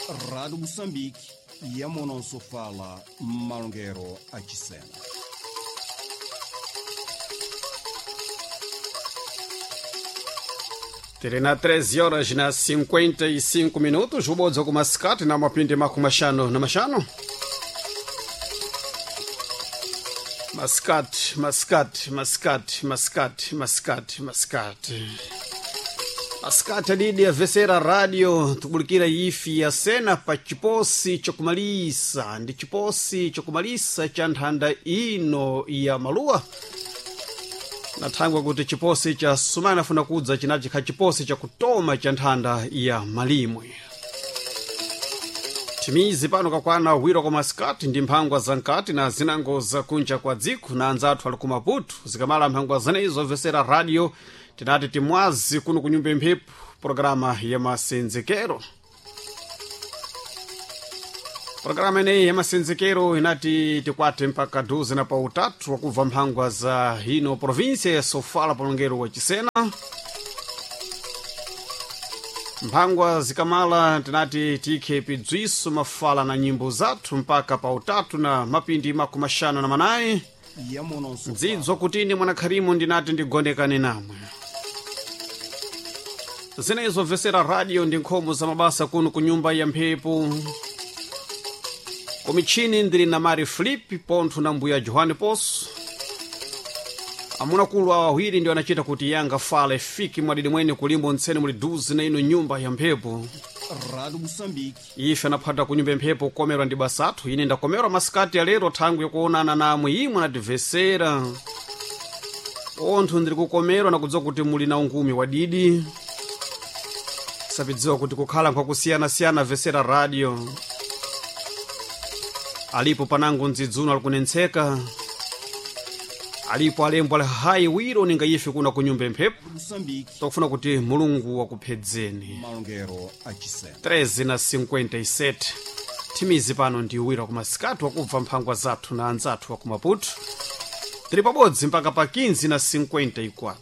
Rádio Moçambique, Yamonosofala, Malongero Achisena. Tiri na 13 horas na 55 minutos, ubodza kumasikati na mapindi makumashanu na mashanu. Masikati, masikati, masikati, masikati, masikati, masikati. Masikati adidi avesera radio tukubulikira ifi ya sena pa chiposi chokumalisa ndi chiposi chokumalisa cha nthanda ino ya maluwa nathangwa kuti chiposi cha sumana afuna kudza chinachi kha chiposi chakutoma cha nthanda ya malimwe. Timizi pano kakwana wiro kwa masikati ndi mphangwa za nkati na zinango za kunja kwa dziko na anzathu ali ku Maputo zikamala mphangwa zenezo obvesera radio tinati timwazi kuno ku nyumba imphepo programa ya masenzekero. Programa ineyi ya masenzekero inati tikwate mpaka 12 na pautatu wakubva mphangwa za hino província ya Sofala palongero wa Chisena. Mphangwa zikamala tinati tikhe pidzwiso mafala na nyimbo zathu mpaka pautatu na mapindi makumaxanu na manayi. Yamonosofala. Dzidzo kutini mwanakharimu ndinati ndigonekane namwe. Zinezo bvesera radio ndi nkhomo za mabasa kuno ku nyumba ya mphepo. Kumichini ndili na Mari Flip pontho na mbuya Johani Poso. Amunakulu awa awiri ndio anachita kuti yanga fala ifike mwadidi mwene kulimbo ntsene muli duzi na ino nyumba ya mphepo. Rádio Moçambique, Ife anaphata ku nyumba ya mphepo kukomerwa ndi basathu ine ndakomerwa masikati alero thangwi yakuonana namwe imwe anativesera. Onthu ndiri kukomerwa nakudziwa kuti muli na ungumi wadidi. Sapidziwa kuti kukhala nkwakusiyana-siyana vesera radio. Alipo panango ndzidzuno alikunentseka. Alipo alembo ali hayi wiro ninga ife kuna ku nyumba ya mphepo. Moçambique, Tokufuna kuti Mulungu wakuphedzeni. Malongero Achisena. 13 na 57 thimizi pano ndi wira kumasikati wakubva mphangwa zathu na anzathu wa ku Maputo. Tili pabodzi mpaka pa 15 na 54.